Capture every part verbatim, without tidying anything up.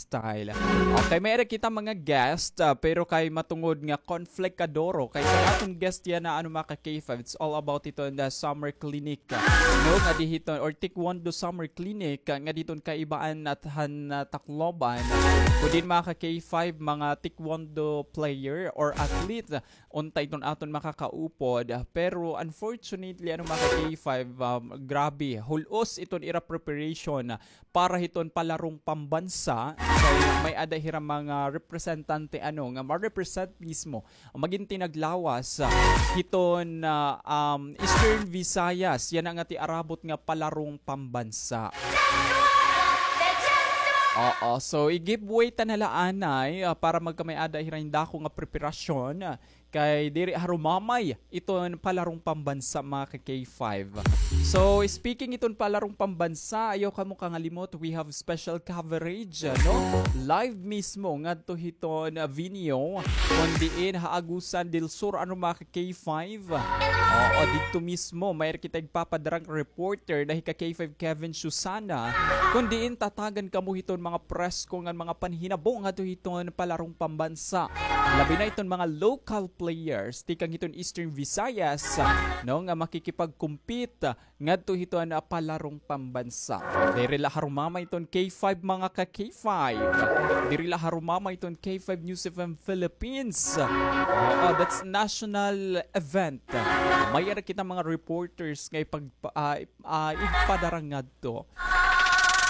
Style. Okay, may-ada kita mga guest, ah, pero kay matungod nga conflict kaduro, kay sa aton guest yana, ano, mga ka-K five, it's all about iton the summer clinic, ah, no, nga dihiton, or Taekwondo summer clinic, ah, nga diton kaibaan at han, ah, Tacloban. Kun diin, mga ka-K five, mga Taekwondo player or athlete, unta iton aton makakaupod. Pero unfortunately, ano, mga ka-K five, um, grabe, hul-os iton ira preparation para hiton palarong pambansa. Kay may-ada hira mga representante, ano, nga ma-represent mismo, magintinag lawas, ah, hiton, ah, um, Eastern Visayas. Yana nga tiarabot nga palarong pambansa. Oo, so i-give way ta na la anay, ah, para magkamay-ada hira hin dako nga preparasyon, ah, kay diri harumamay iton palarong pambansa, mga ka-K five. So, speaking iton palarong pambansa, ayaw kamo kangalimot, we have special coverage, no? Live mismo ngadto hiton, ah, venue, kun diin ha Agusan del Sur, ano, mga ka-K five. Oo, didto mismo, may-ada kita igpapadarang reporter na hi ka-K five Kevin Susana, kun diin tatagan kamo hiton mga presko ngan mga panhinabo ngadto hiton palarong pambansa. Labi na iton mga local players tikang hiton Eastern Visayas, no, nga makikipag-compete ngadto hiton, ah, palarong pambansa. Diri la harumamay iton K five, mga ka-K five. Diri la harumamay iton K five News F M Philippines. Oo, that's national event. May-ada kita mga reporters nga ipag-, ah, ah, igpadara ngadto.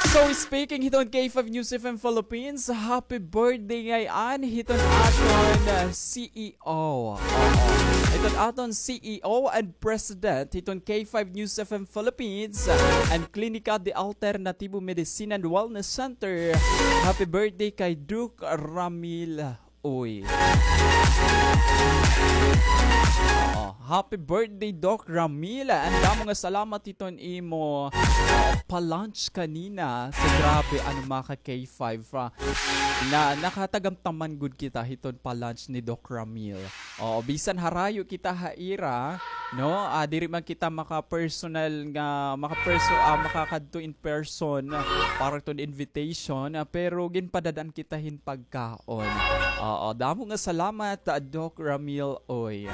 So, speaking hiton K five News F M Philippines, happy birthday ngay-an hiton aton, ah, C E O. Oo. Hiton aton C E O and President hiton K five News F M Philippines, ah, and Klinika de Alternativo Medicine and Wellness Center. Happy birthday kay Doc Ramil Uy. Oo. Happy birthday, Doc Ramil. An damo nga salamat hiton imo, ah, pa-lunch kanina. So, grabe, ano, mga ka-K five, ah, na nakatagamtaman gud kita hiton pa-lunch ni Doc Ramil. Oo, bisan harayo kita ha ira, no? Ah, diri man kita maka-personal nga, maka-perso-, ah, makakadto in person para hiton invitation, ah, pero ginpadad-an kita hin pagkaon. Oo, damo nga salamat, ah, Doc Ramil Uy.